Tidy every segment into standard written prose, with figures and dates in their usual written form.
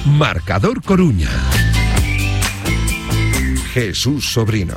Marcador Coruña. Jesús Sobrino.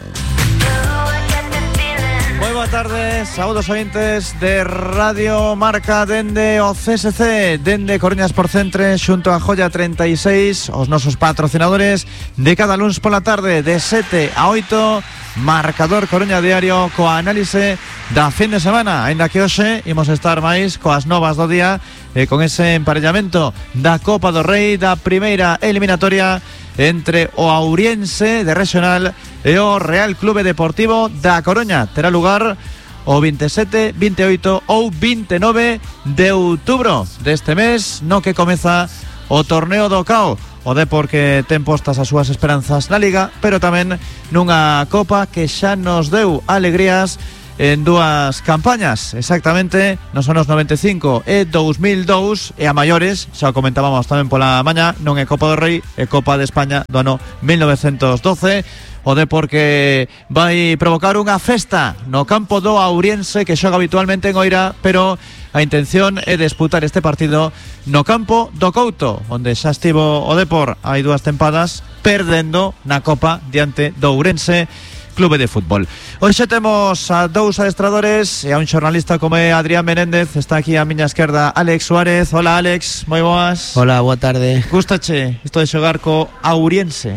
Moi boa tarde, saúdos ointes de Radio Marca dende o CSC, dende Coruña Sport Centre, xunto a Joya 36, os nosos patrocinadores de cada luns pola tarde de 7 a 8, Marcador Coruña Diario coa análise da fin de semana, aínda que hoxe imos estar máis coas novas do día e con ese emparellamento da Copa do Rei da primeira eliminatoria entre o Auriense de Regional e o Real Clube Deportivo da Coruña. Terá lugar o 27, 28 ou 29 de outubro deste mes, no que comeza o torneo do CAO. O Depor que ten postas as súas esperanzas na Liga, pero tamén nunha Copa que xa nos deu alegrías en dúas campañas, exactamente nos anos 95 e 2002, e a maiores, xa o comentábamos tamén pola mañá, non é Copa do Rei, é Copa de España do ano 1912. O Depor que vai provocar unha festa no campo do Auriense, que xoga habitualmente en Oira, pero a intención é disputar este partido no campo do Couto, onde xa estivo o Depor hai dúas tempadas perdendo na Copa diante do Ourense Clube de Fútbol. Hoxe temos a dous adestradores e a un xornalista como é Adrián Menéndez. Está aquí a miña esquerda Alex Suárez. Hola Alex, moi boas. Hola, boa tarde. Gústache isto de xogar co Auriense?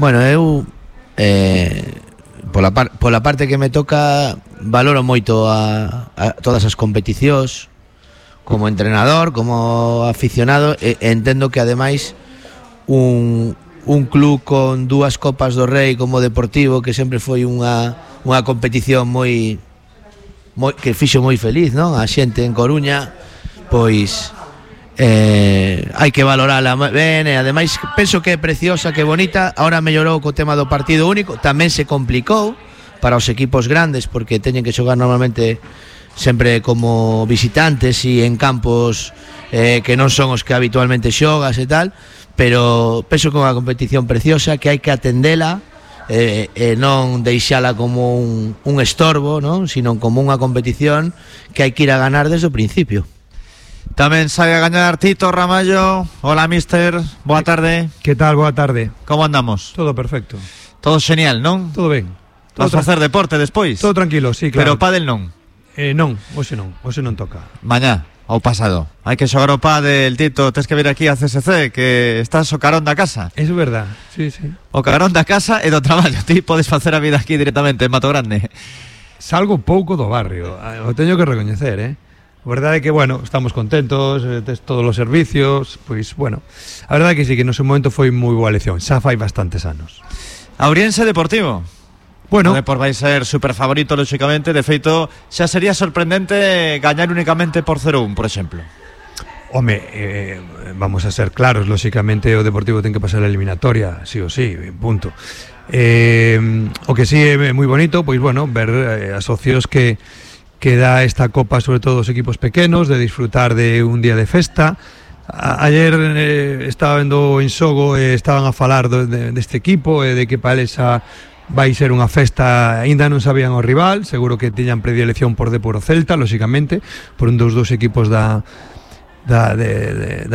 Bueno, eu pola parte que me toca valoro moito a todas as competicións como entrenador, como aficionado, e entendo que ademais un club con dúas Copas do Rei como Deportivo, que sempre foi unha competición moi que fixo moi feliz, non? A xente en Coruña, pois hai que valorala ben, e ademais penso que é preciosa, que é bonita. Ahora mellorou co tema do partido único, tamén se complicou para os equipos grandes porque teñen que xogar normalmente sempre como visitantes e en campos que non son os que habitualmente xogas e tal, pero penso que é unha competición preciosa que hai que atendela e non deixala como un estorbo, non? Sino como unha competición que hai que ir a ganar desde o principio. Tamén sabe a gañar Tito Ramallo. Hola, mister, boa tarde. Que tal, boa tarde. Como andamos? Todo perfecto. Todo genial, non? Todo ben. Vas a facer deporte despois? Todo tranquilo, sí, claro. Pero pádel non? Non, hoxe non toca. Mañá, ao pasado. Hai que xogar o pádel, Tito. Tens que vir aquí a CSC, que estás o carón da casa. É verdad, sí. O carón da casa e do traballo. Ti podes facer a vida aquí directamente en Mato Grande. Salgo pouco do barrio, o teño que recoñecer, A verdade é que, bueno, estamos contentos, tes todos os servicios, pois, bueno, a verdade é que sí, que no seu momento foi moi boa lección, xa fai bastantes anos. Auriense Deportivo. Bueno, o Depor vai ser super favorito, lógicamente. De feito, xa sería sorprendente gañar únicamente por 0-1, por exemplo. Home, vamos a ser claros, lógicamente o Deportivo ten que pasar a eliminatoria, sí o sí, punto. O que sí é moi bonito, pois bueno, ver as opcións que dá esta Copa, sobre todo os equipos pequenos, de disfrutar de un día de festa. Ayer estaba vendo en Sogo e estaban a falar deste equipo e de que para eles vai ser unha festa. Ainda non sabían o rival, seguro que tiñan predilección por Depor o Celta, lógicamente, por un dos equipos da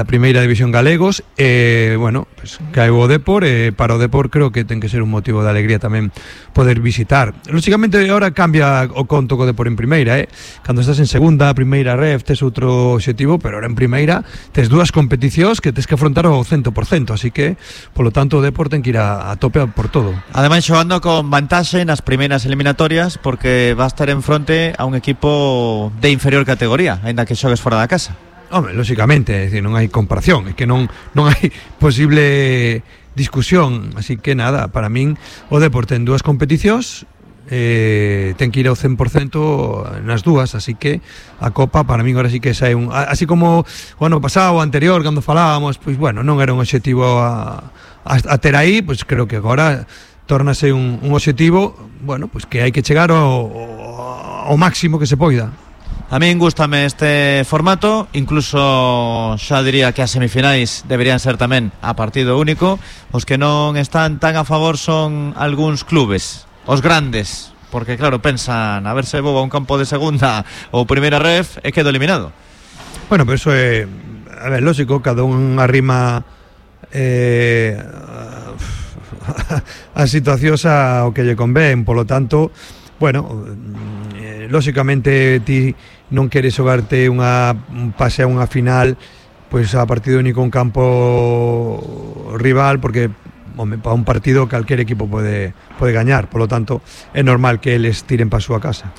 primeira división galegos, e bueno, pues, caeu o Depor, e para o Depor creo que ten que ser un motivo de alegría tamén poder visitar. Lógicamente agora cambia o conto co Depor en primeira, cando estás en segunda, primeira ref, tes outro objetivo, pero ahora en primeira tes dúas competicións que tes que afrontar ao 100%, así que, polo tanto, o Depor ten que ir a tope por todo. Ademais, xogando con vantaxe nas primeiras eliminatorias, porque va a estar en fronte a un equipo de inferior categoría, aínda que xogues fora da casa. Home, lógicamente, é dicir, non hai comparación, é que non hai posible discusión, así que nada, para min o Depor ten dúas competicións, ten que ir ao 100% nas dúas, así que a Copa para min agora sí que sai así como o ano pasado, o anterior, cando falábamos, pois bueno, non era un obxectivo a ter aí, pois creo que agora tórnase un obxectivo, bueno, pois que hai que chegar ao máximo que se poida. A min gústame este formato, incluso xa diría que as semifinais deberían ser tamén a partido único. Os que non están tan a favor son algúns clubes, os grandes, porque claro, pensan a ver se vou a un campo de segunda ou primeira ref e quedo eliminado. Bueno, pero eso é, a ver, lógico, cada un arrima as situacións ao que lle convén, polo tanto, bueno, lóxicamente ti non queres xogarte un pase a unha final pois a partido único en campo rival, porque para un partido calquer equipo pode gañar, polo tanto é normal que eles tiren para a súa casa.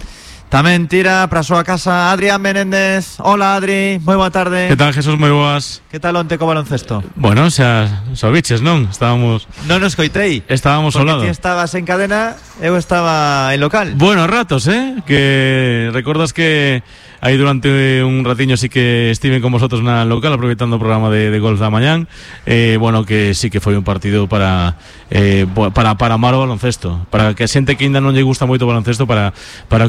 Tamén tira para a súa casa Adrián Menéndez. Hola Adri, moi boa tarde. Que tal, Jesús? Moi boas. Que tal onte co baloncesto? Bueno, xa biches, non? Non nos coitei. Estábamos ao lado. Porque ti estabas en cadena, eu estaba en local. Bueno, a ratos, que recordas que aí durante un ratiño sí que estiven con vosotros na local aproveitando o programa de golf da mañán. Bueno, que sí que foi un partido para amar o baloncesto, para que a xente que ainda non lle gusta moito o baloncesto para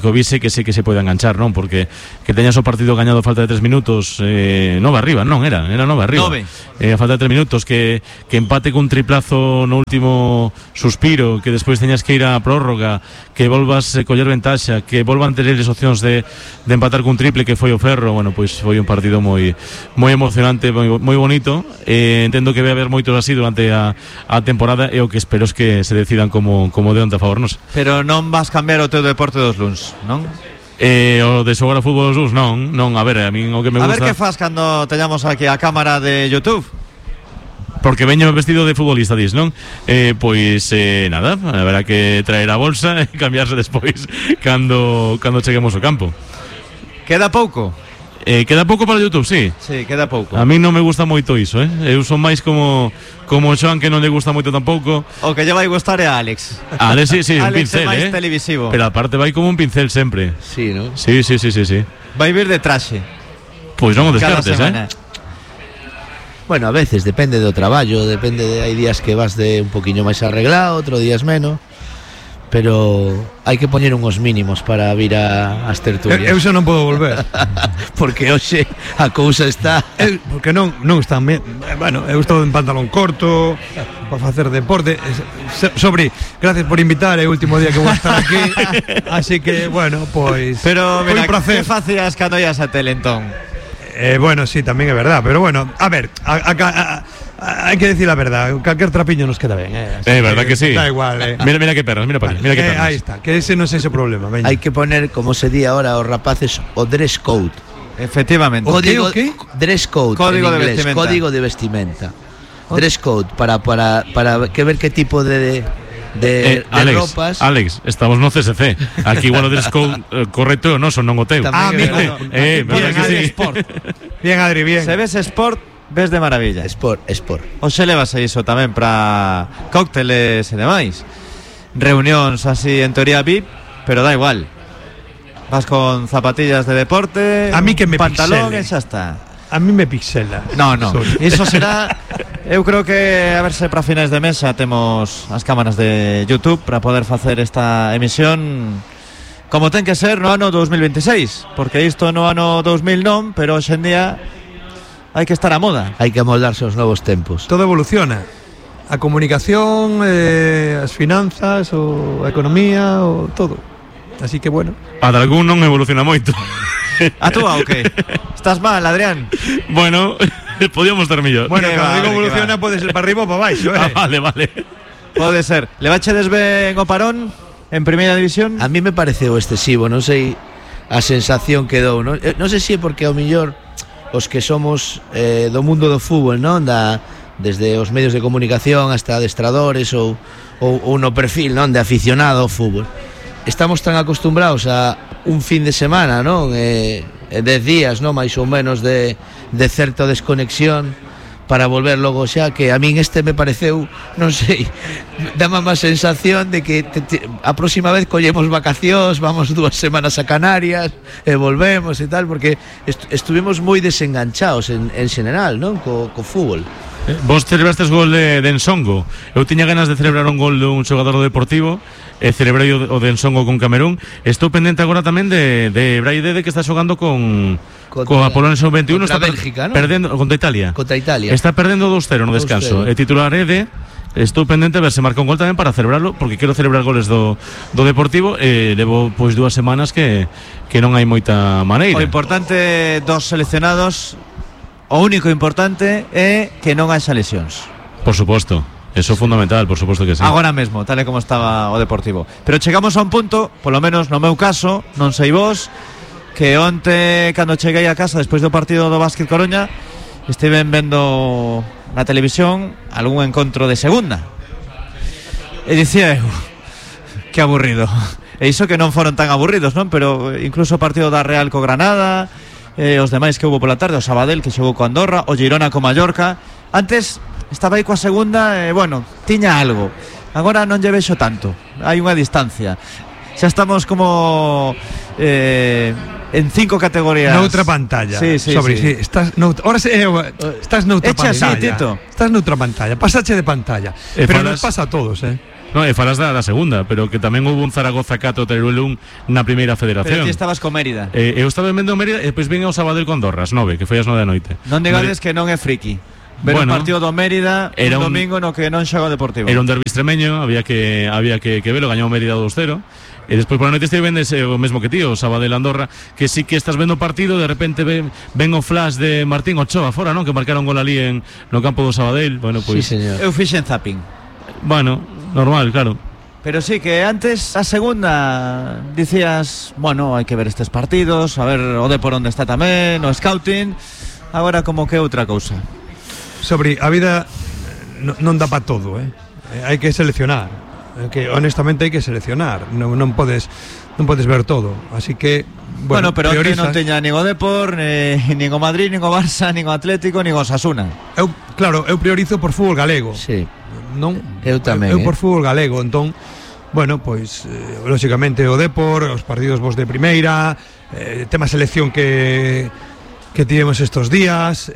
que o vise, que sí que se pode enganchar, non? Porque que teñas o partido gañado a falta de 3 minutos, 9 arriba, non, era 9 arriba. 9. A falta de 3 minutos, que empate cun triplazo no último suspiro, que despois teñas que ir a prórroga, que volvas a coller ventaxa, que volvan ter eles opcións de empatar cun triple que foi o Ferro. Bueno, pois foi un partido moi emocionante, moi bonito. Entendo que vai haber moitos así durante a temporada, e o que espero es que se decidan como de onte a favor nos. Pero non vas cambiar o teu deporte dos luns, non? O de xogar a fútbol dos luns, non, a ver, a min o que me gusta. A ver que faz cando teñamos aquí a cámara de YouTube. Porque veño vestido de futbolista, dis, non? Pois nada, haberá que traer a bolsa e cambiarse despois cando cheguemos ao campo. Queda pouco? Queda pouco para o YouTube, sí. Sí, queda pouco. A mí non me gusta moito iso, Eu son máis como Xoan, que non lle gusta moito tampouco. O que lle vai gustar é a Alex. Alex, sí, un Alex pincel, é máis televisivo. Pero aparte vai como un pincel sempre. Sí, ¿no? Sí. Vai vir de traxe. Pois non o descartes, Bueno, a veces depende do traballo, hai días que vas de un poquinho máis arreglado, outros días menos. Pero hai que poñer uns mínimos para vir ás tertulias. Eu xa non podo volver. Porque hoxe a cousa está... Porque non están ben. Bueno, eu estou en pantalón corto para facer deporte. Sobre, gracias por invitar, é o último día que vou estar aquí. Así que, bueno, pois... Pero, mira, que facías cando ias a tele, entón? Bueno, sí, tamén é verdad. Pero bueno, a ver, hai que decir a verdad, calquer trapiño nos queda ben, verdad que sí. Da igual, Mira que perras, mira para mira que perras. Aí está, que ese non é ese problema, veña. Hai que poner, como se di ahora aos rapaces, o dress code. Efectivamente. Código, ¿Qué? Dress code Código en inglés, de vestimenta. código de vestimenta. Dress code para que ver qué tipo de Alex, ropas. Alex, estamos no CSC. Aquí igual o dress code correcto ou non, son non o teu. Tamén verdad que sí. Sport. Bien, Adri, bien. Se ves sport, ves de maravilla. Sport. O se levas a iso tamén para cócteles e demais. Reunións así en teoría VIP, pero da igual. Vas con zapatillas de deporte, a mí que me pantalón pixele. E xa está. A mí me pixela. No, iso será. Eu creo que a ver se para finais de mes xa temos as cámaras de YouTube para poder facer esta emisión como ten que ser no ano 2026, porque isto no ano 2000 non, pero hoxe en día hai que estar a moda. Hai que amoldarse aos novos tempos. Todo evoluciona. A comunicación, as finanzas, a economía, o todo. Así que bueno. A de algún non evoluciona moito. A túa o que? Estás mal, Adrián? Bueno, podíamos estar mellor. Bueno, Que cando va, digo que evoluciona va. pode ser para arriba ou para baixo, Vale. Pode ser. Levachedes ben o parón en primeira división? A mí me pareceu excesivo, non sei a sensación que dou, non? Non sei se é porque ao millor os que somos do mundo do fútbol, non? Desde os medios de comunicación hasta adestradores ou no perfil, non? De aficionado ao fútbol. Estamos tan acostumbrados a un fin de semana, non? 10 días, non? Mais ou menos de certa desconexión para volver logo xa, que a min me pareceu, non sei, dame má sensación de que a próxima vez collemos vacacións, vamos 2 semanas a Canarias e volvemos e tal, porque estuvimos moi desenganchados en general, non? Co fútbol. Vos celebrastes gol de Ensongo. Eu tiña ganas de celebrar un gol dun xogador do Deportivo, e celebrei o de Ensongo con Camerún. Estou pendente agora tamén de Braidede, que está xogando con Apolonio 21, contra está Bélgica, ¿no? Perdendo contra Italia. Está perdendo 2-0 no descanso. 2-0. E titular Ede. Estou pendente a ver se marca un gol tamén para celebrarlo, porque quero celebrar goles do Deportivo. Levo pois 2 semanas que non hai moita maneira. O importante dos seleccionados, o único importante é que non haxa lesións. Por suposto. Eso é fundamental, por suposto que sí. Agora mesmo, tal e como estaba o Deportivo. Pero chegamos a un punto, polo menos no meu caso, non sei vos, que onte, cando cheguei a casa despois do partido do Básquet Coruña, estiven vendo na televisión algún encontro de segunda. E dicía eu, que aburrido. E iso que non foron tan aburridos, non? Pero incluso o partido da Real co Granada, os demais que houve pola tarde, o Sabadell que xogou co Andorra, o Girona co Mallorca. Antes estaba aí coa segunda, bueno, tiña algo. Agora non lle vexo tanto. Hai unha distancia. Xa estamos como en 5 categorías. Noutra pantalla. Sí. Estás noutra Echa pantalla. así, Tito. Estás noutra pantalla. Pasache de pantalla. Pero nos pasa a todos, No, e falas da segunda, pero que tamén houve un Zaragoza 4 Teruel 1 na primeira federación. Pero ti estabas co Mérida. Eu estaba vendo Mérida e depois vin ao Sabadell con Andorra, as 9, que foi as 9 da noite. Non digades que non é friki. Ver un partido do Mérida era un domingo no que non xoga o Deportivo. Era un derbi extremeño, había que velo, gañou Mérida 2-0. E despois por a noite estive vendo o mesmo que tío, o Sabadell Andorra, que sí que estás vendo o partido, de repente ven o flash de Martín Ochoa fora, non? Que marcaron gol ali no campo do Sabadell. Bueno, pois Sí, señor. Eu fixen zapping. Bueno, normal, claro. Pero sí que antes, a segunda, dicías, bueno, hai que ver estes partidos, a ver o de por onde está tamén, o scouting. Agora como que outra cousa. Sobre a vida non dá para todo, hai que seleccionar. Que honestamente hai que seleccionar. Non podes ver todo. Así que bueno, pero que priorizas. non teña nin o Depor, nin o Madrid, nin o Barça, nin o Atlético, nin o Osasuna. Eu priorizo por fútbol galego. Sí. Non? Eu tamén. Eu por fútbol galego, entón, bueno, pois lógicamente o Depor, os partidos vos de primeira, tema selección que tivemos estos días,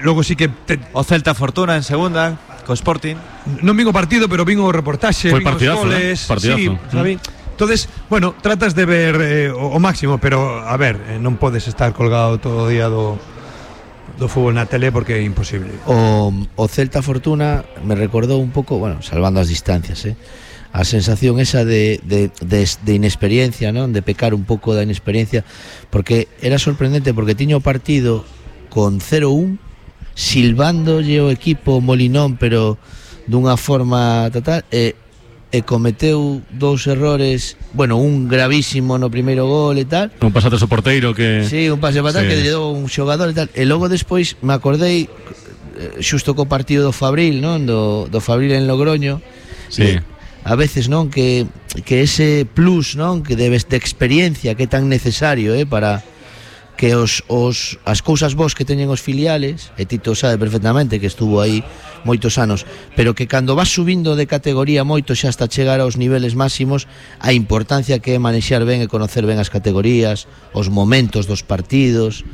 logo sí que o Celta Fortuna en segunda, co Sporting. Non vin o partido, pero vin o reportaxe, foi vin os partidazo, goles, partidazo. sí, sabe? Entonces, bueno, tratas de ver o máximo, pero a ver, non podes estar colgado todo o día do fútbol na tele porque é imposible. O Celta Fortuna me recordou un pouco, bueno, salvando as distancias, a sensación esa de inexperiencia, non? De pecar un pouco da inexperiencia, porque era sorprendente porque tiña o partido con 0-1, silbándolle o equipo Molinón, pero dunha forma total, e cometeu 2 errores, bueno, un gravísimo no primeiro gol e tal. Un pasate ao porteiro que... Sí, un pase para que lle deu un xogador e tal. E logo despois me acordei xusto co partido do Fabril, non? Do Fabril en Logroño. Sí. A veces, non, que ese plus, non, que de experiencia que é tan necesario, para que as cousas vos que teñen os filiales, e Tito sabe perfectamente que estuvo aí moitos anos, pero que cando vas subindo de categoría moito xa hasta chegar aos niveles máximos, a importancia que é manexar ben e conocer ben as categorías, os momentos dos partidos,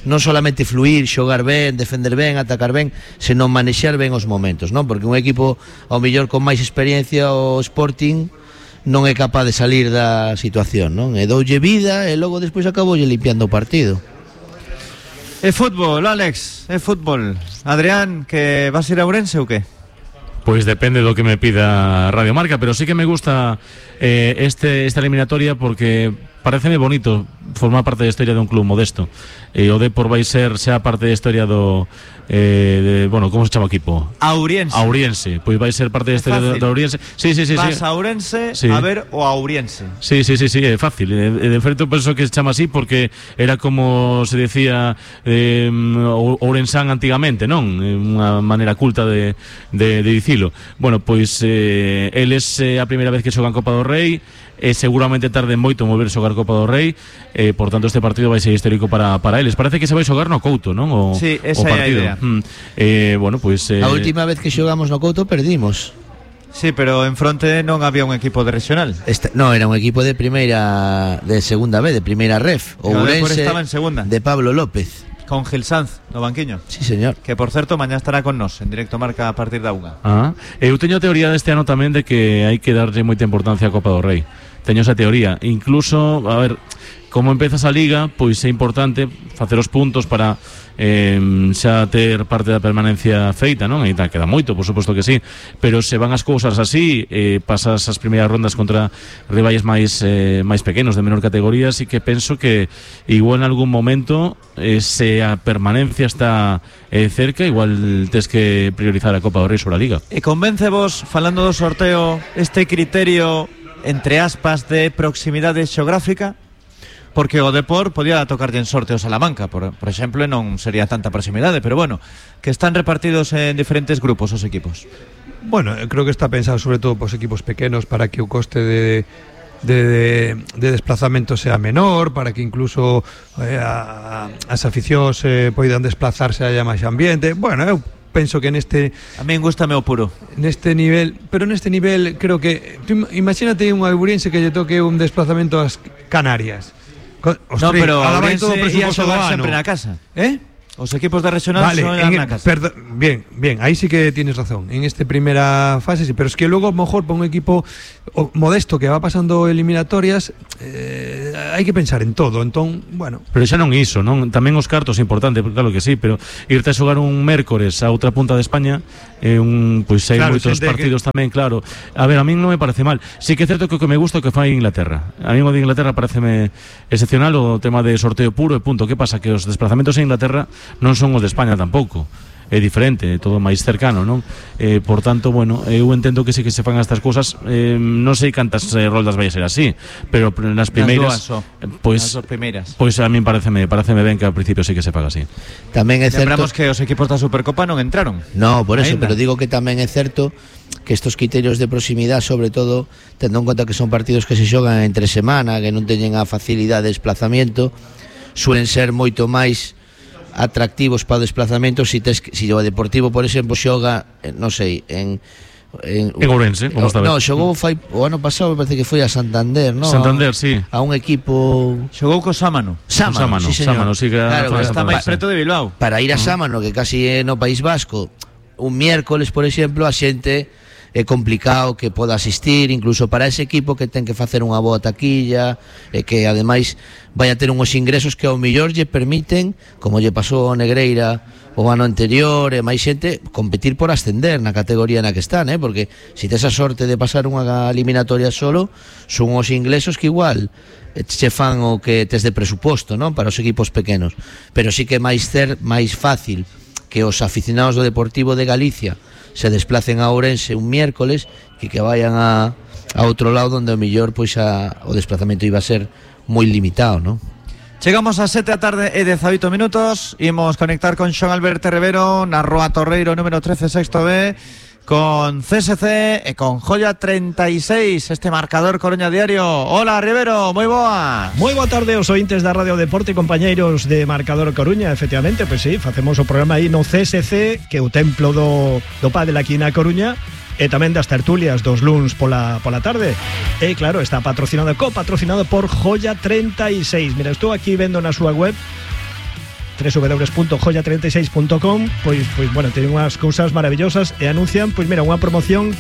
non solamente fluir, xogar ben, defender ben, atacar ben, senón manexar ben os momentos, non? Porque un equipo ao mellor con máis experiencia, o Sporting, non é capaz de salir da situación, non? E doulle vida e logo despois acaboulle limpiando o partido. É fútbol, Alex, é fútbol. Adrián, que vas ir a Ourense ou que? Pois depende do que me pida Radio Marca, pero sí que me gusta esta eliminatoria porque pareceme bonito formar parte da historia dun club modesto. O Depor vai ser xa parte da historia do bueno, como se chama o equipo? Auriense. Pois vai ser parte da historia do Auriense. Sí. Vas a Ourense a ver o Auriense. Sí, é fácil. De feito penso que se chama así porque era como se decía Ourensán antigamente, non? Unha maneira culta de dicilo. Bueno, pois eles a primeira vez que xogan Copa do Rei, seguramente tarde moito mover xogar Copa do Rei, por tanto este partido vai ser histórico para eles. Parece que se vai xogar no Couto, non? Sí, esa é a idea. Bueno, pois a última vez que xogamos no Couto perdimos. Sí, pero en fronte non había un equipo de regional. No, era un equipo de segunda B, de primeira ref. O Ourense estaba en segunda. De Pablo López. Con Gil Sanz no banquiño. Sí, señor. Que por certo mañá estará con nós en Directo Marca a partir da 1. Eu teño a teoría deste ano tamén de que hai que darlle moita importancia á Copa do Rei. teño esa teoría. Incluso, a ver, como empezas a Liga, pois é importante facer os puntos para xa ter parte da permanencia feita, non? E queda moito, por suposto que sí, pero se van as cousas así, pasas as primeiras rondas contra rivais máis pequenos, de menor categoría, así que penso que igual en algún momento, se a permanencia está cerca, igual tes que priorizar a Copa do Rei sobre a Liga. E convence vos, falando do sorteo, este criterio, entre aspas, de proximidade xeográfica? Porque o Depor podía tocarlle en sorteo Salamanca, por exemplo, e non sería tanta proximidade, pero bueno, que están repartidos en diferentes grupos os equipos. Bueno, creo que está pensado sobre todo para os equipos pequenos, para que o coste de desplazamento sea menor, para que incluso as aficións poidan desplazarse a máis ambiente. Bueno, eu penso que neste... A min gustame o puro. Neste nivel, pero neste nivel creo que... Imagínate un alburiense que lle toque un desplazamento ás Canarias. No, pero Ourense ia xogar sempre na casa. Os equipos de regional xogan na casa. Bien, aí sí que tienes razón. En esta primeira fase sí, pero es que logo a lo mejor para un equipo modesto que va pasando eliminatorias, hai que pensar en todo, entón, bueno. Pero xa non iso, non? Tamén os cartos é importante, claro que sí, pero irte a xogar un mércores a outra punta de España, pois hai moitos partidos tamén, claro. A ver, a min non me parece mal. Sí que é certo que o que me gusta é o que fai Inglaterra. A mí o de Inglaterra pareceme excepcional o tema de sorteo puro e punto. Que pasa? Que os desplazamentos en Inglaterra non son os de España tampouco. É diferente, é todo máis cercano, non? Por tanto, bueno, eu entendo que sí que se fan estas cousas, non sei cantas roldas vai a ser así, pero nas primeiras, pois a min pareceme ben que ao principio sí que se faga así. Tamén é certo. Lembramos que os equipos da Supercopa non entraron. No, por eso, pero digo que tamén é certo que estos criterios de proximidade, sobre todo tendo en conta que son partidos que se xogan entre semana, que non teñen a facilidade de desplazamiento, suelen ser moito máis atractivos para o desplazamento si o Deportivo, por exemplo, xoga, non sei, en Ourense, como está. No, xogou o ano pasado, me parece que foi a Santander, ¿no? Santander, sí. A un equipo... Xogou co Sámano. Sámano, sí, que claro, está máis preto de Bilbao. Para ir a Sámano, que casi é no País Vasco, un miércoles, por exemplo, a xente é complicado que poda asistir, incluso para ese equipo que ten que facer unha boa taquilla e que ademais vai a ter unhos ingresos que ao mellor lle permiten, como lle pasou ao Negreira o ano anterior, e máis xente competir por ascender na categoría na que están, porque se tes a sorte de pasar unha eliminatoria solo, son os ingresos que igual che fan o que tes de presuposto, non, para os equipos pequenos, pero sí que é máis fácil que os aficionados do Deportivo de Galicia se desplacen a Ourense un miércoles que vayan a outro lado onde o mellor pois o desplazamento iba a ser moi limitado, non? Chegamos a 7 da tarde e 18 minutos. Imos conectar con Xoán Alberto Rivero na Rúa Torreiro número 13, sexto B, con CSC e con Joya 36, este marcador Coruña Diario. Hola, Rivero, moi boa. Moi boa tarde aos ointes da Radio Deporte, compañeiros de Marcador Coruña. Efectivamente, pois sí, facemos o programa aí no CSC, que é o templo do pádel aquí na Coruña, e tamén das tertulias dos luns pola tarde. E claro, está patrocinado por Joya 36. Mira, estou aquí vendo na súa web www.joya36.com, pois bueno, teñen unhas cousas maravillosas e anuncian, pois mira, unha promoción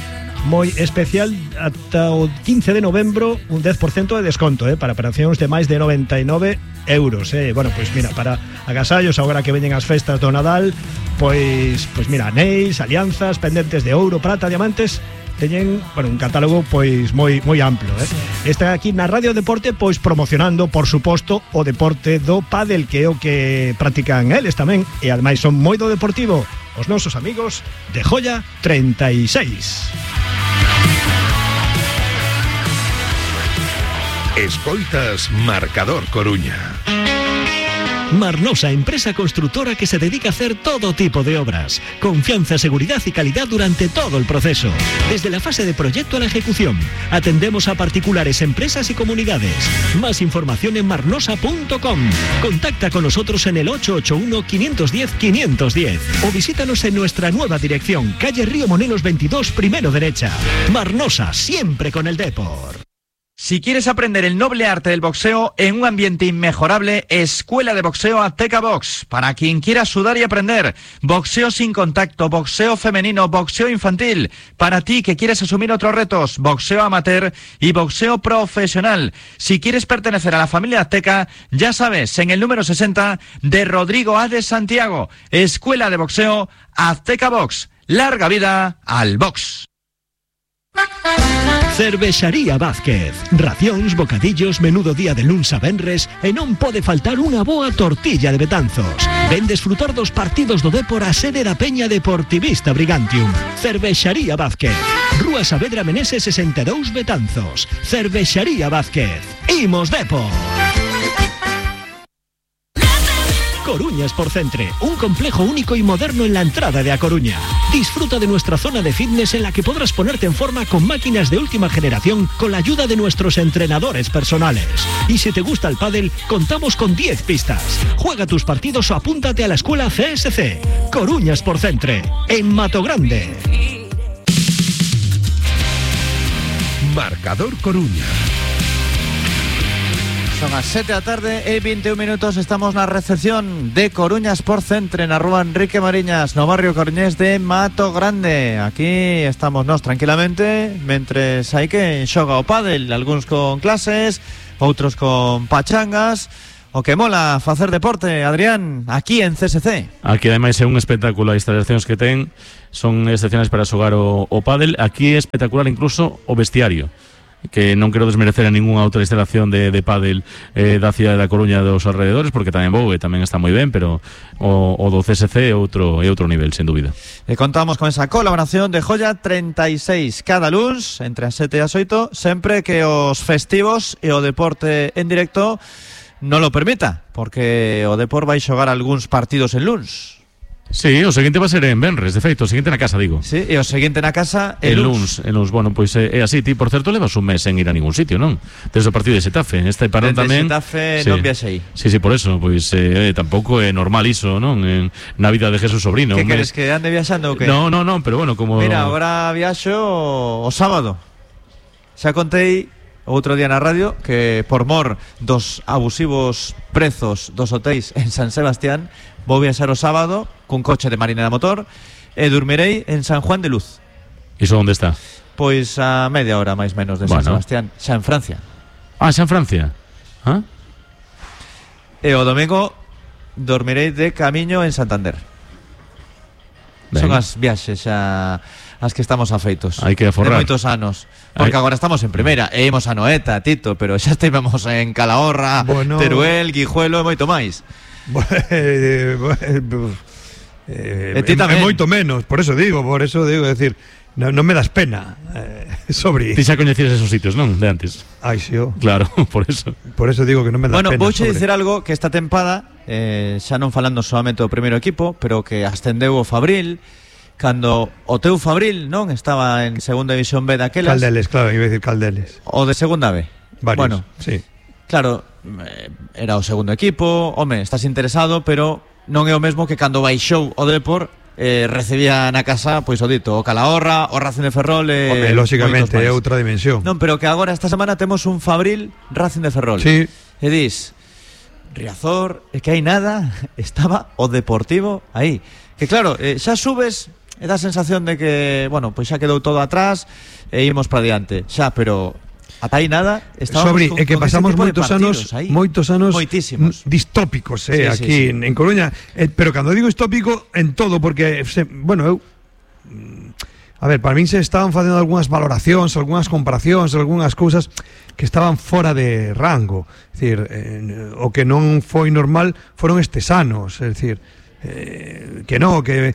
moi especial ata o 15 de novembro, un 10% de desconto, para operacións de máis de 99 euros, Bueno, pois mira, para agasallos agora que veñen as festas do Nadal, pois mira, anéis, alianzas, pendentes de ouro, prata, diamantes, teñen, bueno, un catálogo pois moi amplo, Está aquí na Radio Deporte pois promocionando, por suposto, o deporte do pádel, que é o que practican eles tamén, e ademais son moi do deportivo os nosos amigos de Joya 36. Escoitas Marcador Coruña. Marnosa, empresa constructora que se dedica a hacer todo tipo de obras. Confianza, seguridad y calidad durante todo el proceso. Desde la fase de proyecto a la ejecución. Atendemos a particulares, empresas y comunidades. Más información en marnosa.com. Contacta con nosotros en el 881-510-510 o visítanos en nuestra nueva dirección, calle Río Monelos 22, primero derecha. Marnosa, siempre con el Depor. Si quieres aprender el noble arte del boxeo en un ambiente inmejorable, Escuela de Boxeo Azteca Box. Para quien quiera sudar y aprender, boxeo sin contacto, boxeo femenino, boxeo infantil. Para ti que quieres asumir otros retos, boxeo amateur y boxeo profesional. Si quieres pertenecer a la familia Azteca, ya sabes, en el número 60 de Rodrigo A. de Santiago. Escuela de Boxeo Azteca Box. Larga vida al box. Cervexaría Vázquez. Racións, bocadillos, menudo día de luns a venres e non pode faltar unha boa tortilla de Betanzos. Ven desfrutar dos partidos do Dépor a sede da Peña Deportivista Brigantium. Cervexaría Vázquez. Rúa Saavedra Meneses 62 Betanzos. Cervexaría Vázquez. Imos Dépor. Coruña Sport Centre, un complejo único y moderno en la entrada de A Coruña. Disfruta de nuestra zona de fitness en la que podrás ponerte en forma con máquinas de última generación con la ayuda de nuestros entrenadores personales. Y si te gusta el pádel, contamos con 10 pistas. Juega tus partidos o apúntate a la escuela CSC. Coruña Sport Centre, en Matogrande. Marcador Coruña. Son as 7 da tarde e 21 minutos. Estamos na recepción de Coruña Sport Centre na rúa Enrique Mariñas, no barrio coruñés de Mato Grande. Aquí estamos nós tranquilamente mentres hai que xoga o pádel, algúns con clases, outros con pachangas. O que mola facer deporte, Adrián, aquí en CSC. Aquí ademais é un espectáculo, as instalacións que ten son excepcionais para xogar o pádel. Aquí é espectacular incluso o vestiario, que non quero desmerecer a ningunha outra instalación de pádel da cidade da Coruña e dos alrededores, porque tamén vou e tamén está moi ben, pero o do CSC é outro nivel, sen dúbida. E contamos con esa colaboración de Joya 36 cada luns entre as 7 e as 8, sempre que os festivos e o deporte en directo non lo permita, porque o Depor vai xogar algúns partidos en luns. Sí, o seguinte va a ser en Benres, de feito, o seguinte na casa, digo. Sí, e o seguinte na casa en luns. Bueno, pois é así. Ti, por certo, levas un mes en ir a ningún sitio, non? Desde o partido de Xetafe. Este parón tamén. Xetafe sí. Non viaxei. Sí, por eso, pois tampouco é normal iso, non? Na vida de Jesús Sobrino. Que queres que ande viaxando ou que? No, pero bueno, como... Mira, agora viaxo o sábado. Xa contei outro día na radio que por mor dos abusivos prezos dos hotéis en San Sebastián vou viaxar o sábado cun coche de marinera motor e dormirei en San Juan de Luz. Iso onde está? Pois a media hora máis menos de San Sebastián, xa en Francia. Ah, xa en Francia. Ah? E o domingo dormirei de camiño en Santander. Ben. Son as viaxes xa as que estamos afeitos. Hai que aforrar. De moitos anos. Porque agora estamos en primeira e imos a Noeta, Tito, pero xa estivemos en Calahorra, Teruel, Guijuelo e moito máis. É moito menos, por eso digo, decir, non me das pena sobre. Ti xa coñecías esos sitios, non? De antes. Ai, sí, claro, por eso digo que non me das pena. Bueno, vouche dicir algo que esta tempada xa non falando solamente do primeiro equipo, pero que ascendeu o Fabril cando o teu Fabril, non? Estaba en segunda división B daquelas. Caldeles, claro, iba a decir Caldeles. O de segunda B. Varios, bueno, sí. Claro, era o segundo equipo, home, estás interesado, pero non é o mesmo que cando baixou o Depor recibía na casa, pois o dito, o Calahorra, o Racing de Ferrol home, lógicamente, é outra dimensión. Non, pero que agora esta semana temos un Fabril Racing de Ferrol. Sí. E dis, Riazor, é que hai nada, estaba o Deportivo aí. Que claro, xa subes e dá a sensación de que, bueno, pois xa quedou todo atrás e imos para diante. Xa, pero ata aí nada, sobre é que pasamos moitos anos moitísimos distópicos aquí en Coruña, pero cando digo distópico en todo, porque bueno, a ver, para min se estaban facendo algunhas valoracións, algunhas comparacións, algunhas cousas que estaban fora de rango. É dicir, o que non foi normal foron estes anos, é dicir, que no, que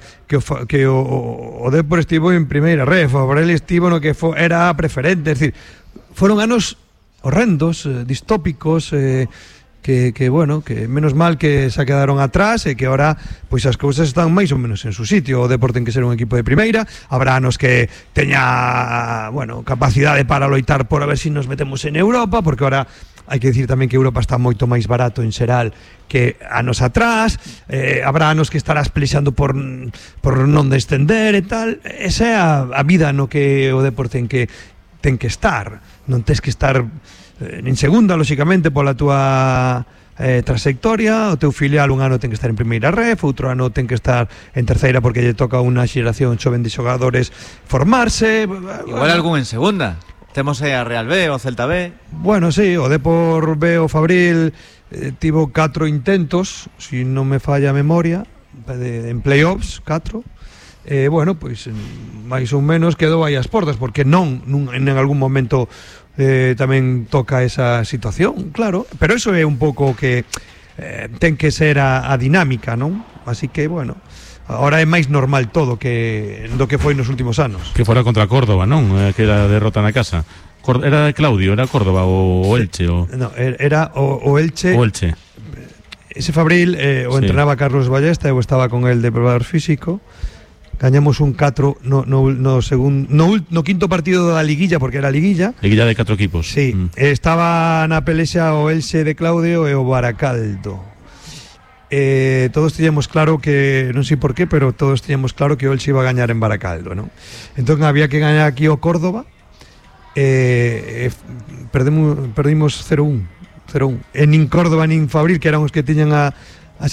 o Depor estivo en primeira ref, o Fabril estivo no que era preferente, é dicir, foron anos horrendos, distópicos, que bueno, que menos mal que se quedaron atrás e que ahora pois as cousas están máis ou menos en su sitio. O Depor ten que ser un equipo de primeira, habrá anos que teña, bueno, capacidade para loitar por a ver si nos metemos en Europa, porque ahora hai que dicir tamén que Europa está moito máis barato en xeral que anos atrás, habrá anos que estarás pelexando por non descender e tal. Esa é a vida no que o Depor ten que ten que estar. Non tes que estar en segunda, lóxicamente, pola túa trayectoria. O teu filial un ano ten que estar en primeira ref, outro ano ten que estar en terceira porque lle toca unha xeración xoven de xogadores formarse. Igual algún en segunda. Temos a Real B o Celta B. Bueno, sí, o Depor B o Fabril tivo 4 intentos, si non me falla a memoria, en playoffs, 4. Bueno, pois máis ou menos quedou aí as portas, porque non en algún momento tamén toca esa situación, claro, pero eso é un pouco que ten que ser a dinámica, non? Así que, bueno, ahora é máis normal todo que do que foi nos últimos anos. Que fora contra Córdoba, non? Que era derrota na casa. Era de Claudio, era Córdoba o Elche o... No, era o Elche. O Elche. Ese Fabril o entrenaba Carlos Ballesta, eu estaba con el de preparador físico. Gañamos un 4 no quinto partido da liguilla, porque era liguilla de 4 equipos. Sí, estaba na pelexa o Elxe de Claudio e o Baracaldo. Todos teníamos claro que, non sei por qué, pero todos teníamos claro que o Elxe iba a gañar en Baracaldo, ¿no? Entón había que gañar aquí o Córdoba. Perdimos 0-1. E nin Córdoba nin Fabril, que eran os que tiñan a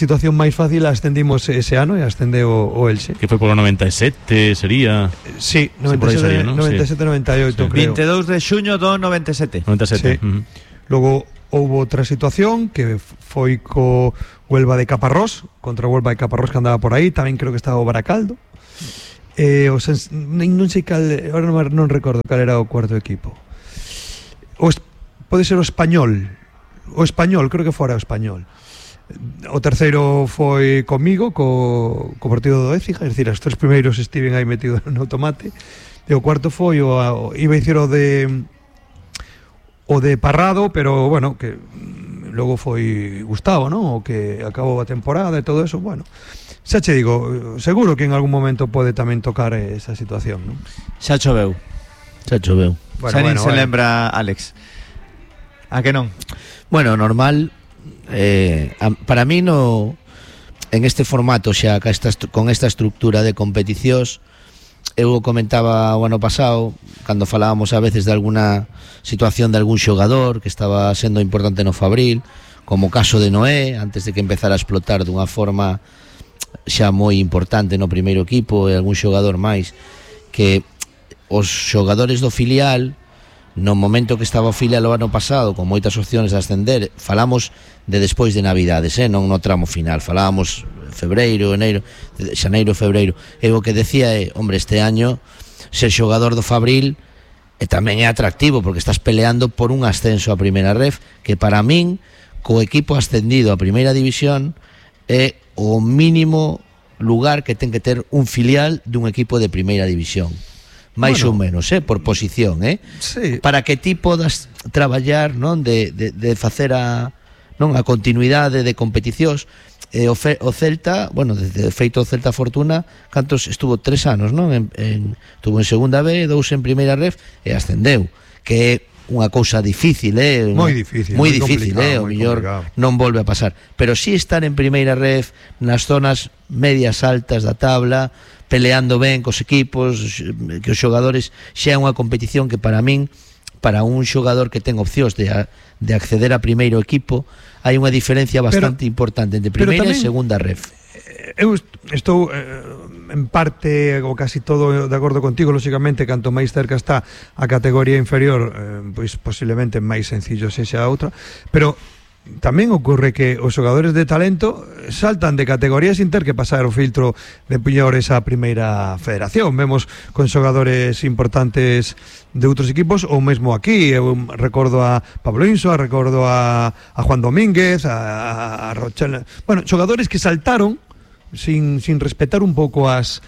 situación máis fácil, ascendimos ese ano e ascendeu o Elxe. Que foi polo 97, sería... Sí, 97-98, creo. 22 de xuño do 97. 97. Sí. Logo houve outra situación que foi co Huelva de Caparrós, contra o Huelva de Caparrós que andaba por aí, tamén creo que estaba o Baracaldo. Non sei cal, agora non recordo cal era o cuarto equipo. Pode ser o Español, creo que fora o Español. O terceiro foi comigo co partido do Écija, é dicir, os 3 primeiros estiven aí metidos no tomate, e o cuarto foi iba a dicir o de Parrado, pero bueno, que logo foi Gustavo, ¿no? O que acabou a temporada e todo eso, bueno. Xa che digo, seguro que en algún momento pode tamén tocar esa situación, ¿no? Xa choveu. Bueno, xa nin se lembra Alex. A que non? Bueno, normal. Para mí en este formato xa con esta estructura de competicións, eu comentaba o ano pasado cando falábamos a veces de alguna situación de algún xogador que estaba sendo importante no Fabril, como o caso de Noé, antes de que empezara a explotar dunha forma xa moi importante no primeiro equipo, e algún xogador máis, que os xogadores do filial, no momento que estaba o filial o ano pasado con moitas opciones de ascender, falamos de despois de Navidades, non no tramo final, falábamos xaneiro, febreiro, e o que decía é, hombre, este año ser xogador do Fabril tamén é atractivo, porque estás peleando por un ascenso a primeira ref, que para min, co equipo ascendido a primeira división, é o mínimo lugar que ten que ter un filial dun equipo de primeira división. máis ou menos, por posición, sí. Para que ti podas traballar, non, de facer a continuidade de competicións. O Celta, bueno, de feito o Celta Fortuna, cantos estuvo 3 anos, non? Estuvo en segunda B, 2 en primeira ref e ascendeu, que é unha cousa difícil, moi difícil, o mellor non volve a pasar, pero si estar en primeira ref nas zonas medias altas da tabla, peleando ben cos equipos, que os xogadores, xa é unha competición que para min, para un xogador que ten opcións de acceder a primeiro equipo, hai unha diferencia bastante importante entre primeira e segunda ref. Eu estou en parte ou casi todo de acordo contigo, lógicamente, canto máis cerca está a categoría inferior, pois posiblemente máis sencillo sexa a outra, pero tamén ocorre que os xogadores de talento saltan de categoría sin ter que pasar o filtro de piñores á primeira federación. Vemos con xogadores importantes de outros equipos, ou mesmo aquí, eu recordo a Pablo Insoa, recordo a Juan Domínguez, a Rochelle, bueno, xogadores que saltaron sin respetar un pouco as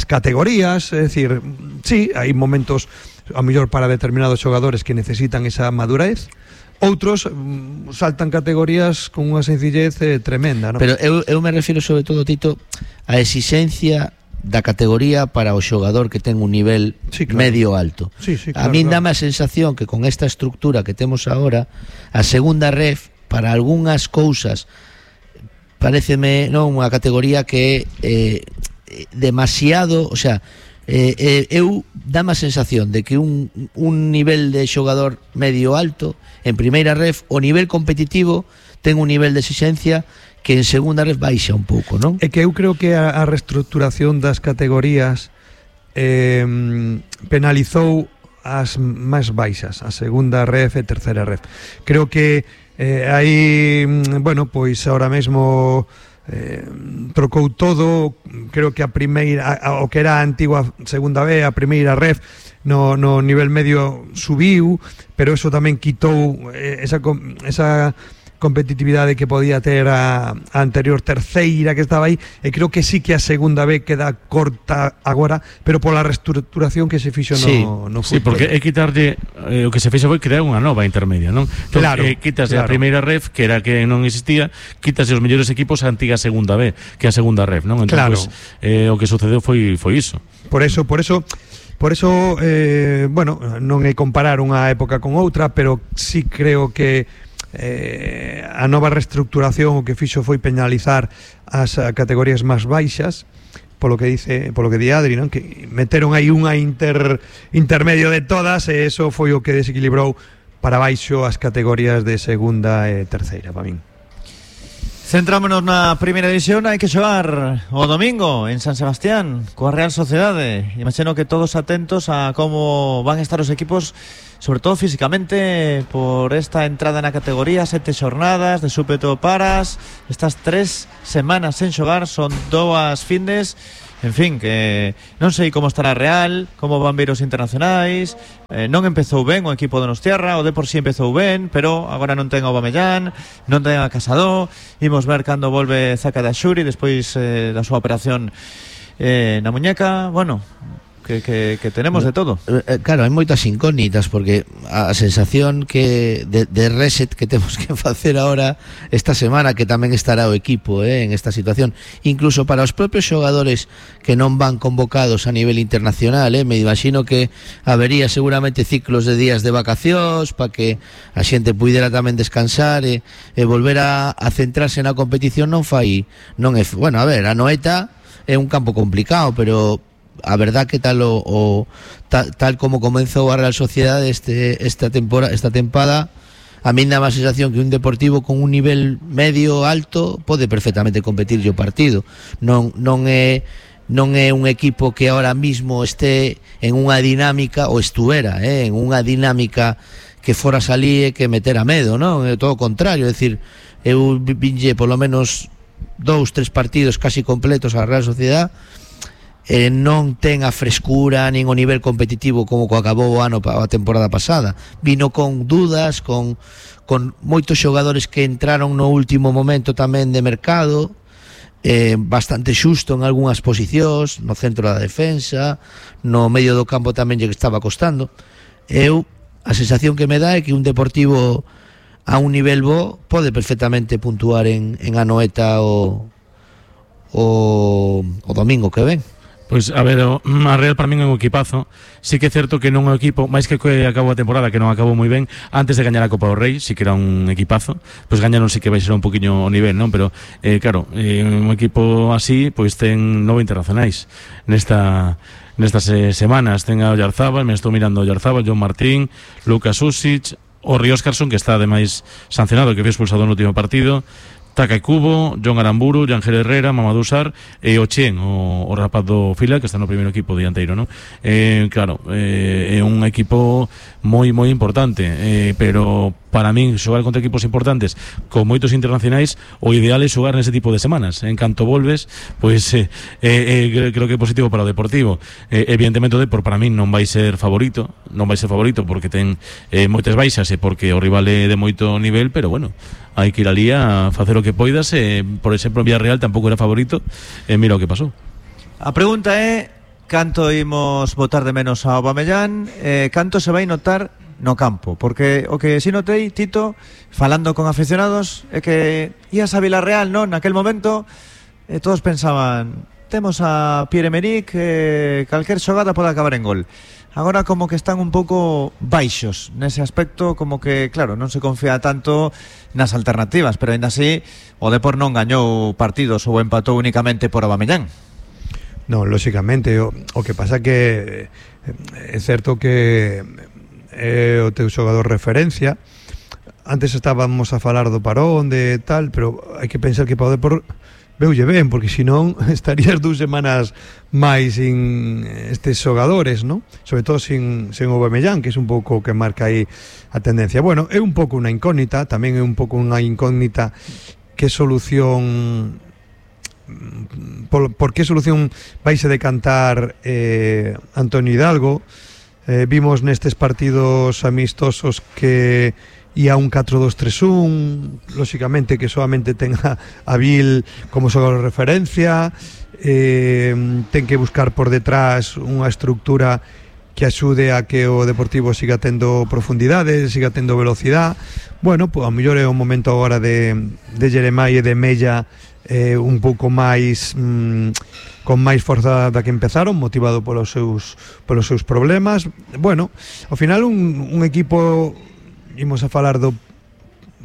categorías, é dicir, sí, hai momentos a mellor para determinados xogadores que necesitan esa madurez. Outros saltan categorías con unha sencillez tremenda, ¿no? Pero eu me refiro sobre todo, Tito, a exixencia da categoría para o xogador que ten un nivel medio alto. A min dame a sensación que con esta estructura que temos agora, a segunda ref, para algunhas cousas, pareceme, non, unha categoría que é demasiado, o sea, Eu dame a sensación de que un nivel de xogador medio alto en primeira ref, o nivel competitivo ten un nivel de exigencia que en segunda ref baixa un pouco, non? É que eu creo que a reestructuración das categorías penalizou as máis baixas, a segunda ref e terceira ref. Creo que aí, bueno, pois ahora mesmo trocou todo. Creo que a primeira, o que era a antigua segunda B, a primeira ref no nivel medio subiu, pero eso tamén quitou esa competitividade que podía ter a anterior terceira que estaba aí, e creo que sí que a segunda B queda corta agora, pero pola reestructuración que se fixo no fútbol. Sí, porque é quitarlle o que se fixo foi crear unha nova intermedia, non? Entón, claro, quitas a primeira ref, que era que non existía, quitas os mellores equipos a antiga segunda B, que a segunda ref, non? Entón, claro. Pues, o que sucedeu foi iso. Por eso, bueno, non é comparar unha época con outra, pero sí creo que a nova reestructuración o que fixo foi penalizar as categorías máis baixas, polo que di Adri, non? Que meteron aí unha intermedio de todas, e eso foi o que desequilibrou para baixo as categorías de segunda e terceira, para min. Centrámonos na primeira división. Hai que xogar o domingo en San Sebastián coa Real Sociedade. Imagino que todos atentos a como van a estar os equipos, sobre todo físicamente, por esta entrada na categoría. 7 xornadas de súpeto paras, estas 3 semanas sen xogar, son 2 findes. En fin, que non sei como estará Real, como van vir os internacionais. Non empezou ben o equipo de Donostiarra, o de por si empezou ben, pero agora non ten a Aubameyang, non ten a Casado. Imos ver cando volve Zaka da Xuri despois da súa operación na muñeca. Bueno, que tenemos de todo. Claro, hai moitas incógnitas, porque a sensación que de reset que temos que facer ahora esta semana, que tamén estará o equipo en esta situación, incluso para os propios xogadores que non van convocados a nivel internacional, me imagino que habería seguramente ciclos de días de vacacións para que a xente puidera tamén descansar e volver a centrarse na competición. Non é, bueno, a ver, a Noeta é un campo complicado, pero a verdad que tal como comenzou a Real Sociedade esta tempada, a mí dá a sensación que un Deportivo con un nivel medio alto pode perfectamente competir o partido. Non é un equipo que ahora mismo este en unha dinámica, ou estuvera en unha dinámica que fora salir e que meter a medo, non? É todo o contrario, é dicir, eu vinlle polo menos 2-3 partidos casi completos a Real Sociedade, non ten a frescura nin o nivel competitivo como acabou o ano, a temporada pasada. Vino con dudas, con moitos xogadores que entraron no último momento tamén de mercado, bastante xusto en algunhas posicións, no centro da defensa, no medio do campo tamén lle estaba costando. A sensación que me dá é que un Deportivo a un nivel bo pode perfectamente puntuar en Anoeta o domingo que ven. Pois, a ver, a Real para min é un equipazo. Sí que é certo que non é un equipo, máis que acabou a temporada, que non acabou moi ben, antes de gañar a Copa do Rei, sí que era un equipazo. Pois gañaron sí que vai ser un poquinho o nivel, non? Pero, claro, un equipo así, pois ten 9 internacionais nestas semanas. Ten a Oyarzábal, me estou mirando a Oyarzábal, John Martín, Lucas Usic, o Ríos Carson, que está ademais sancionado, que foi expulsado no último partido, Taka Kubo, John Aramburu, Ángel Herrera, Mamadou Sarr e o Chen, o rapaz do Fila, que está no primeiro equipo dianteiro, non? Claro, é un equipo moi importante, pero para min xogar contra equipos importantes con moitos internacionais, o ideal é xogar nese tipo de semanas. En canto volves, pois creo que é positivo para o Deportivo. Evidentemente o Depor para min non vai ser favorito porque ten moitas baixas e porque o rival é de moito nivel, pero bueno, hai que ir ali a facer o que poidas. Por exemplo, Villarreal tampouco era favorito, mira o que pasou. A pregunta é canto imos botar de menos a Aubameyang, canto se vai notar no campo, porque o que si notei, Tito, falando con aficionados, é que ías a Villarreal, non? Naquel momento todos pensaban, temos a Pierre-Emerick, calquer xogada pode acabar en gol. Agora como que están un pouco baixos nese aspecto, como que, claro, non se confía tanto nas alternativas, pero ainda así o Depor non gañou partidos ou empatou únicamente por Aubameyang. Non, lóxicamente, o que pasa que é certo que é o teu xogador referencia. Antes estábamos a falar do parón de tal, pero hai que pensar que para o Depor veulle ben, porque senón estarías 2 semanas máis sin estes xogadores, ¿no? Sobre todo sin Aubameyang, que é un pouco o que marca aí a tendencia. Bueno, é un pouco unha incógnita, tamén é un pouco unha incógnita que solución por que solución vaise decantar Antonio Hidalgo. Vimos nestes partidos amistosos que e a un 4-2-3-1, lóxicamente que solamente ten a Vil como xogador de referencia, ten que buscar por detrás unha estructura que axude a que o Deportivo siga tendo profundidade, siga tendo velocidade. Bueno, pues a mellor é o momento agora de Jeremai e de Mella un pouco máis con máis forza da que empezaron, motivado polos seus problemas. Bueno, ao final un equipo, imos a falar do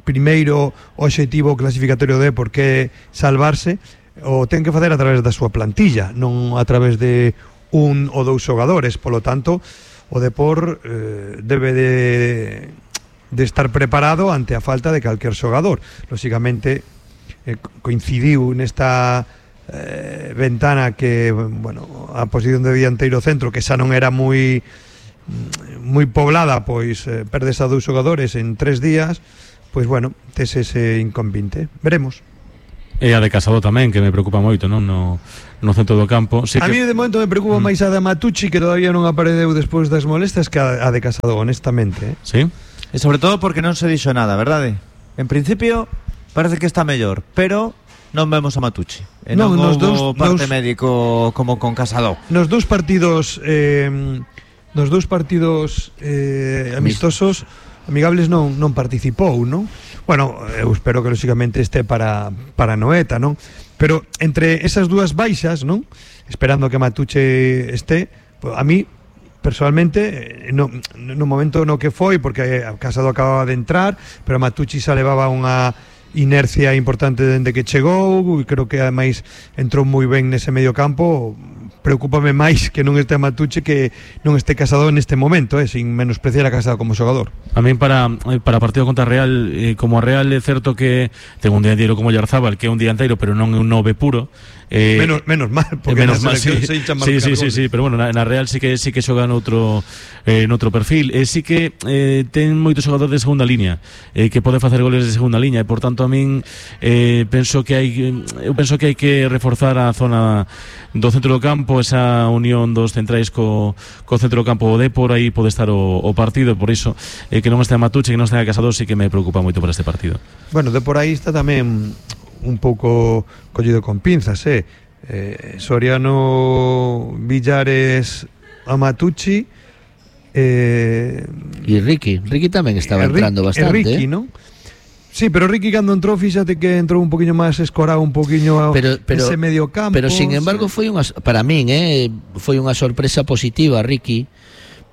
primeiro obxectivo clasificatorio de por que salvarse, o ten que facer a través da súa plantilla, non a través de un ou dous xogadores. Polo tanto, o Depor debe de estar preparado ante a falta de calquer xogador. Lóxicamente coincidiu nesta ventana que, bueno, a posición de dianteiro centro, que xa non era moi poblada, pois perdes a 2 xogadores en 3 días, pois bueno, tes ese inconvinte. Veremos. E a de Casado tamén, que me preocupa moito, non? No centro do campo. Sí, a mí de momento me preocupa máis a de Matucci, que todavía non apareceu despois das molestias, que a de Casado, honestamente. Sí. E sobre todo porque non se dixo nada, verdade? En principio parece que está mellor, pero non vemos a Matucci. E non houve parte médico como con Casado. Nos dous partidos amistosos amigables non participou, non? Bueno, eu espero que lóxicamente este para Noeta, non? Pero entre esas dúas baixas, non? Esperando que Matucci este, pues, a mí personalmente no momento no que foi, porque Casado acababa de entrar, pero Matucci xa levaba unha inercia importante dende que chegou, e creo que ademais entrou moi ben nese medio campo. Preocúpame máis que non este Matucci que non este Casado neste momento, sin menospreciar a Casado como xogador. A mí para partido contra a Real, como a Real é certo que ten un dianteiro como Yarzábal, que é un dianteiro pero non é un 9 puro. Menos mal, porque menos mal, sí, pero bueno, na Real sí que xoga noutro perfil, sí que ten moitos xogadores de segunda línea, que pode facer goles de segunda línea, e por tanto a min penso que hai que reforzar a zona do centro do campo, esa unión dos centrais co centro do campo. O Depor aí pode estar o partido, por iso que non este Matucci, que non este Casado, sí que me preocupa moito para este partido. Bueno, Depor aí está tamén un pouco collido con pinzas, Soriano, Villares, a Matucci e Ricky tamén estaba entrando bastante. Ricky, non? Sí, pero Ricky cando entrou, fíxate que entrou un poquinho máis escorado, un poquinho ese medio campo. Pero sin embargo foi para min, foi unha sorpresa positiva Ricky,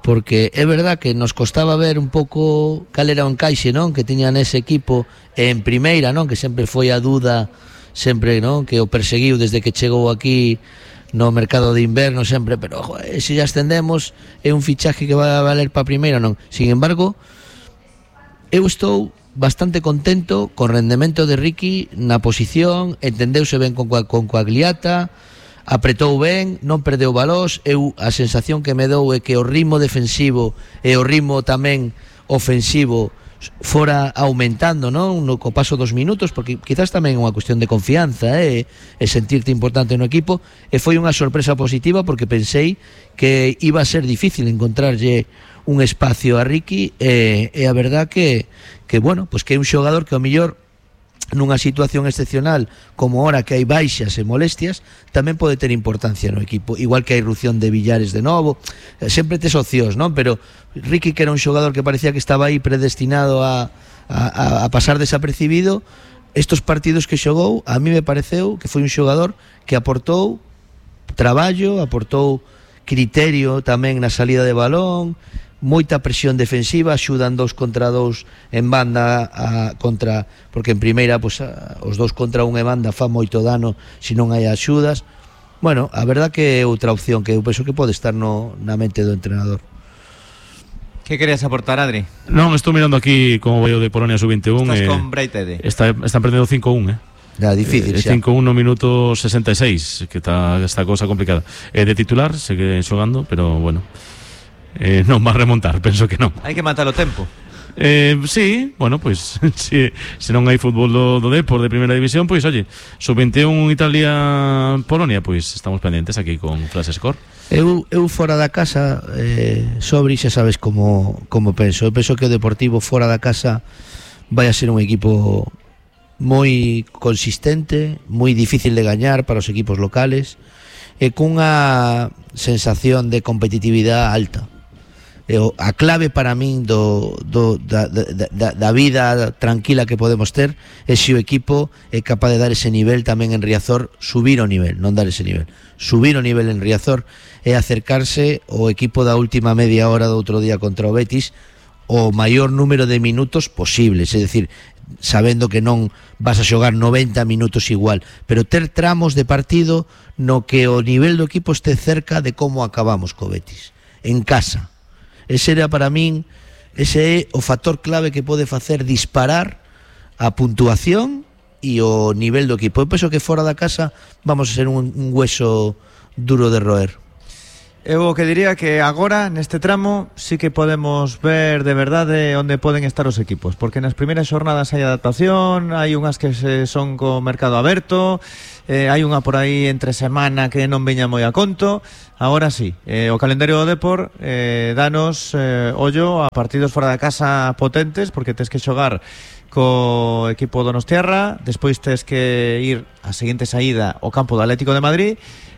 porque é verdad que nos costaba ver un pouco cal era o encaixe, non, que tiña nese equipo en primeira, non, que sempre foi a duda, sempre, non, que o perseguiu desde que chegou aquí no mercado de inverno sempre, pero se ya ascendemos é un fichaje que vai a valer para primeira, non. Sin embargo, eu estou bastante contento co rendemento de Ricky na posición, entendeuse ben con Coagliata, apretou ben, non perdeu balós. Eu a sensación que me dou é que o ritmo defensivo e o ritmo tamén ofensivo fora aumentando, non, no co paso dos minutos, porque quizás tamén é unha cuestión de confianza, e sentirte importante no equipo, e foi unha sorpresa positiva porque pensei que iba a ser difícil encontrarlle un espacio a Ricky, e a verdad que bueno, pues que é un xogador que ao mellor nunha situación excepcional como ahora que hai baixas e molestias tamén pode ter importancia no equipo, igual que a irrupción de Villares de novo, sempre tes opcións, non? Pero Ricky, que era un xogador que parecía que estaba aí predestinado a pasar desapercibido, estos partidos que xogou, a mí me pareceu que foi un xogador que aportou traballo, aportou criterio tamén na salida de balón, moita presión defensiva, axudan 2 contra 2 en banda porque en primeira, pues, os 2 contra 1 en banda fa moito dano se non hai axudas. Bueno, a verdad que é outra opción que eu penso que pode estar na mente do entrenador. ¿Qué querías aportar, Adri? Non, estou mirando aquí como vai o de Polonia sub-21. Estás con Breitede. Están perdendo 5-1, Ya, difícil, xa. 5-1 no minuto 66, que está esta cosa complicada. De titular, segue xogando, pero bueno, non va a remontar, penso que non. Hai que matar o tempo. Sí, bueno, pues se non hai fútbol do Depor de primeira división, pois oye, sub-21 Italia-Polonia, pois estamos pendientes aquí con Flash Score. Eu fora da casa, Sobri, xa sabes como penso. Eu penso que o Deportivo fora da casa vai a ser un equipo moi consistente, moi difícil de gañar para os equipos locales e cunha sensación de competitividade alta. A clave para min da vida tranquila que podemos ter é se o equipo é capaz de dar ese nivel tamén en Riazor, subir o nivel, non dar ese nivel, subir o nivel en Riazor e acercarse ao equipo da última media hora do outro día contra o Betis o maior número de minutos posibles, é dicir, sabendo que non vas a xogar 90 minutos igual, pero ter tramos de partido no que o nivel do equipo este cerca de como acabamos co Betis en casa. Ese era para min, ese é o factor clave que pode facer disparar a puntuación e o nivel do equipo. Eu penso que fora da casa vamos a ser un hueso duro de roer. Eu o que diría que agora neste tramo sí que podemos ver de verdade onde poden estar os equipos, porque nas primeiras xornadas hai adaptación, hai unhas que son co mercado aberto, hai unha por aí entre semana que non veña moi a conto. Agora sí, o calendario do Depor danos ollo a partidos fora da casa potentes, porque tes que xogar co equipo donostiarra, despois tes que ir a seguinte saída ao campo do Atlético de Madrid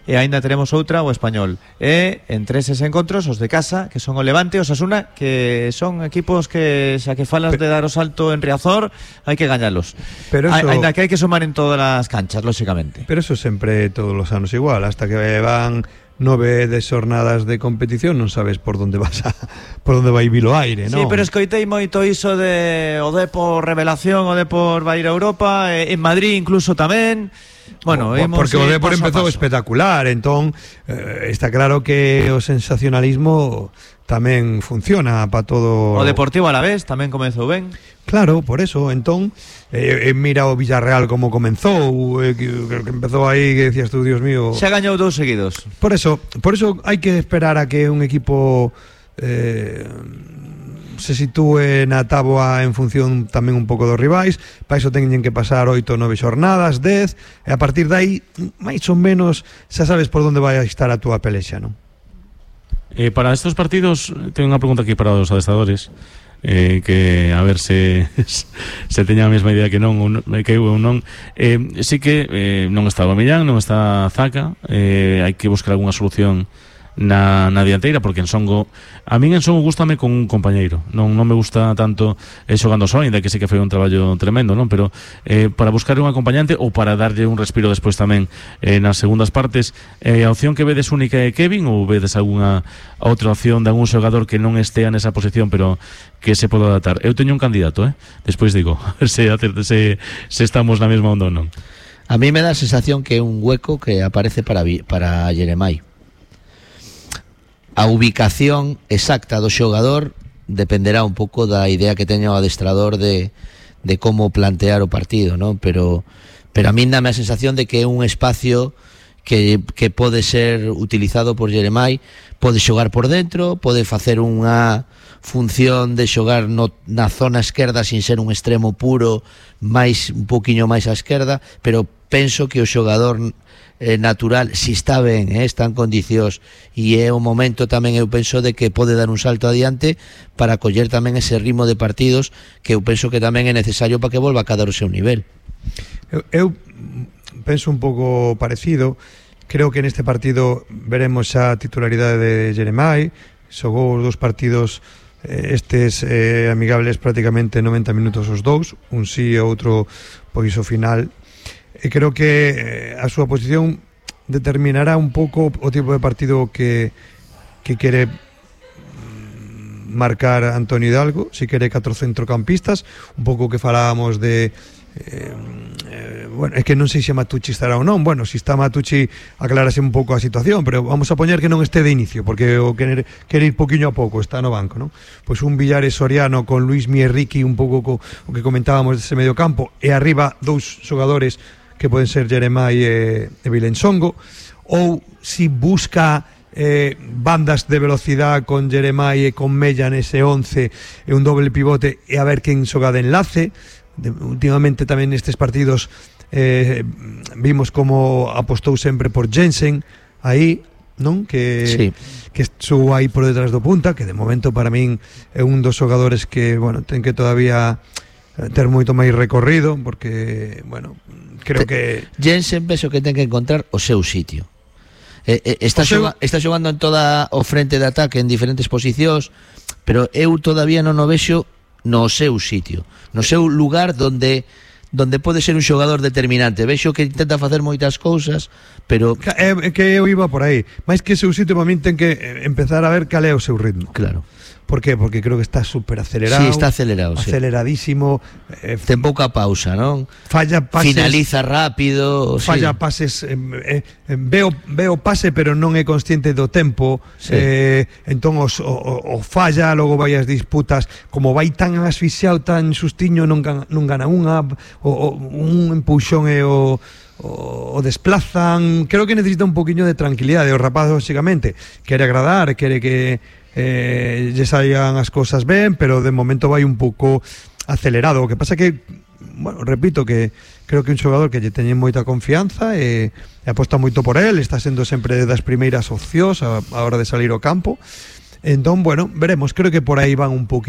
e aínda teremos outra o Español. E entre eses encontros os de casa, que son o Levante e o Osasuna, que son equipos que xa que falas de dar o salto en Riazor, hai que gañalos. Pero eso, aínda que hai que sumar en todas as canchas, lóxicamente. Pero eso sempre todos os anos igual, hasta que van 9 de xornadas de competición non sabes por onde vai vir o aire, non? Sí, pero escoitei moito iso de o Depor revelación, o Depor vai ir a Europa, en Madrid incluso tamén. Bueno, porque o Depor empezou espectacular, entón está claro que o sensacionalismo tamén funciona para todo. O Deportivo Alavés tamén comezou ben. Claro, por eso, entón mira o Villarreal como comenzou, que empezou aí, que decías tú, Dios mío. Xa gañou 2 seguidos. Por eso hai que esperar a que un equipo se sitúe na táboa en función tamén un pouco dos rivais. Para iso teñen que pasar 8 ou 9 xornadas, 10, e a partir de aí máis ou menos xa sabes por onde vai a estar a túa pelexa, non? Para estes partidos teño unha pregunta aquí para os adestradores, que a ver se teña a mesma idea que non, que eu non. Sí que non está o Millán, non está Zaca, hai que buscar algunha solución na dianteira, porque en Songo, a min en Songo gústame con un compañeiro, non me gusta tanto xogando só, ainda que sí que foi un traballo tremendo, non? Pero para buscar un acompañante ou para darlle un respiro despois tamén nas segundas partes, a opción que vedes única é Kevin, ou vedes algunha outra opción de algún xogador que non estea nesa posición pero que se poda adaptar? Eu teño un candidato, despois digo, a ver se estamos na mesma onda ou non. A mí me dá a sensación que é un hueco que aparece para Jeremai. A ubicación exacta do xogador dependerá un pouco da idea que teña o adestrador de como plantear o partido, ¿no? Pero a mí dame a sensación de que é un espacio que pode ser utilizado por Jeremai, pode xogar por dentro, pode facer unha función de xogar na zona esquerda sin ser un extremo puro, un poquinho máis á esquerda, pero penso que o xogador natural, si está ben, está en condicións, e é o momento tamén, eu penso, de que pode dar un salto adiante para coller tamén ese ritmo de partidos que eu penso que tamén é necesario para que volva a cadar o seu nivel. Eu penso un pouco parecido. Creo que neste partido veremos a titularidade de Jeremai. Xogou os 2 partidos estes amigables prácticamente 90 minutos os 2, un sí e outro pois o final. E creo que a súa posición determinará un pouco o tipo de partido que quere marcar Antonio Hidalgo, se quere 4 centrocampistas, un pouco que falábamos de bueno, é que non sei se Matucci estará ou non. Bueno, se está Matucci aclarase un pouco a situación, pero vamos a poñer que non este de inicio, porque o quere ir poquinho a pouco, está no banco, non? Pois un Villares Soriano con Luis Mierriqui, un pouco o que comentábamos dese medio campo, e arriba dous xogadores que poden ser Jeremai e Vilensongo, ou si busca bandas de velocidade con Jeremai e con Mella nese 11 e un doble pivote e a ver quen xoga de enlace. Últimamente tamén nestes partidos vimos como apostou sempre por Jensen aí, non? Que estuvo aí por detrás do punta, que de momento para min é un dos xogadores que, bueno, ten que todavía ter moito máis recorrido, porque, bueno, creo que Jensen penso que ten que encontrar o seu sitio. Está xogando en toda o frente de ataque en diferentes posicións, pero eu todavía non o vexo no seu sitio, no seu lugar donde pode ser un xogador determinante. Vexo que intenta facer moitas cousas, pero que eu iba por aí. Mais que seu sitio, para min ten que empezar a ver cal é o seu ritmo. Claro. Por qué? Porque creo que está super acelerado. Sí, está acelerado, aceleradísimo. Ten pouca pausa, non? Falla pases. Finaliza rápido. Falla pases. Veo pase, pero non é consciente do tempo. Sí. Entón o falla, logo vai as disputas. Como vai tan asfixiado, tan sustiño, non gana unha. Un empuxón e o desplazan. Creo que necesita un poquinho de tranquilidade. O rapaz, básicamente, quere agradar, quere que lle saían as cousas ben, pero de momento vai un pouco acelerado. O que pasa que, bueno, repito, que creo que un xogador que lle teñen moita confianza e aposta moito por él, está sendo sempre das primeiras opcións a hora de salir ao campo. Entón, bueno, veremos, creo que por aí van un poquinho